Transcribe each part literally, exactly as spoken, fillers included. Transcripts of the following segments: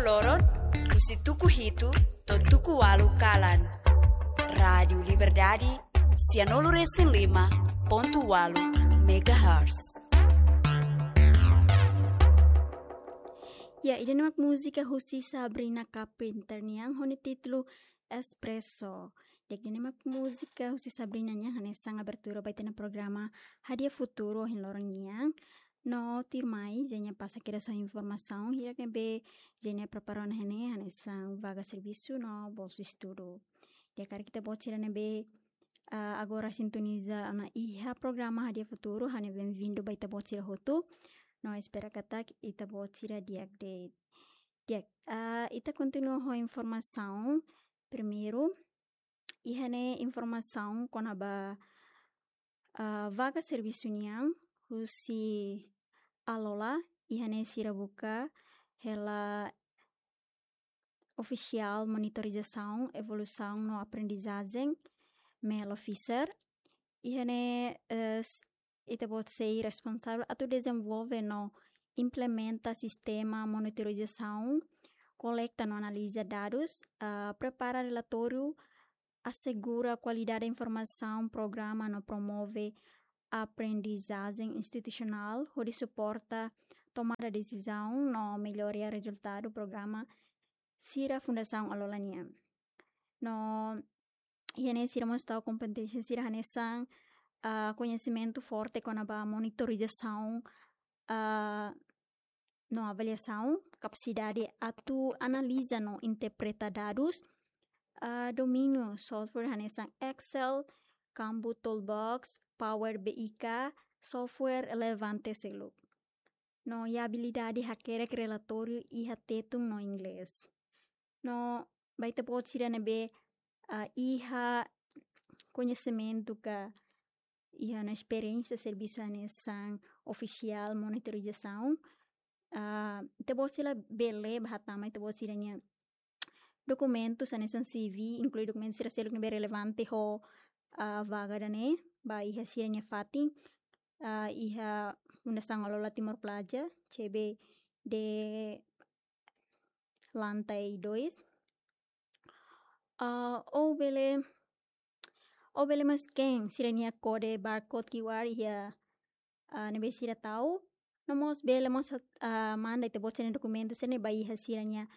Loron, husi tuku hitu to'o tuku ualu kalan. Rádiu Liberdade, sianulu resin lima pontu ualu megahertz. Ya, ida-ne'e mak múzika husi Sabrina Carpenter nian ho nia títulu Espresso. Di'ak, ida-ne'e mak múzika husi Sabrina nian hanesan abertura ba ita-nia programa Hadi'a Futuru ohin loron nian. No tuirmai, Zenia pasa kedas ho informasaun hirak ne'ebé Zenia prepara ona iha ne'e, hanesan vaga servisu no bolsa estudu. Di'ak, karik ita-boot sira ne'ebé, ah, agora sintoniza ona iha programa Hadi'a Futuru, ha'u-nia benvindu ba ita-boot sira hotu. No espera katak ita-boot sira di'ak de'it. Di'ak, ah, ita kontinua ho informasaun. Primeiru, iha ne'e informasaun kona-ba, ah, vaga servisu nian husi Alola, iha ne'e sira buka hela ofisiál monitorizasaun, evolusaun no aprendizajen, MEL officer. Iha ne'e, eh, s-, ita-boot sei responsavel atu dezenvolve no implementa sistema monitorizasaun, kolekta no analiza dadus, ah, prepara relatóriu, asegura kualidade informasaun, programa no promove aprendizajen institusionál, hodi suporta tomada desizaun no mellora rezultadu programa sira Fundasaun Alola nian. No iha ne'e sira mós tau kompeténsia sira hanesan, ah, koñesimentu forte kona-ba monitorizasaun, ah, no avaliasaun, kapasidade atu analiza no interpreta dadus, ah, domíniu software hanesan Excel, Kanban Toolbox, Power BI ka software relevante seluk. No iha abilidade hakerek relatóriu iha Tetun no Inglés. No ba ita-boot sira ne'ebé, ah, iha koñesimentu ka iha ona esperiénsia servisu hanesan ofisiál monitorizasaun, ah, ita-boot sira bele bá hatama ita-boot sira-nia dokumentus hanesan C V, inklui dokumentu sira seluk ne'ebé relevante ho, ah, vaga ida-ne'e, ba iha sira-nia fatin, ah, iha Fundasaun Alola Timor Plaza, C B D lantai dois. Ah, ou bele, ou bele mós scan sira-nia kode barcode Q R iha, ah, ne'ebé sira tau. No mós bele mós, ah, manda ita-boot sira-nia dokumentu sira-ne'e ba iha sira-nia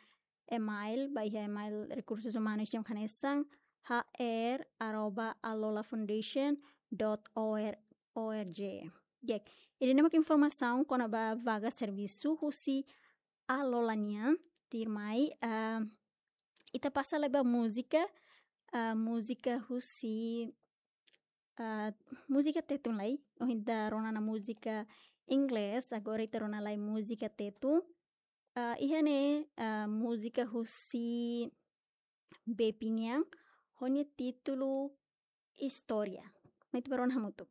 email, ba iha email rekursus umanus nian hanesan H R arroba alolafoundation dot org. Di'ak, ida-ne'e mak informasaun kona-ba vaga servisu husi Alola nian. Tuirmai, ah, ita pasa lai ba múzika, ah, múzika husi, ah, múzika Tetun lai. Ohin ita rona ona múzika Inglés, agora ita rona lai múzika Tetun. Ah, iha ne'e, ah, múzika husi Bepi nian, ho nia títulu Istória. Mai ita bá rona hamutuk.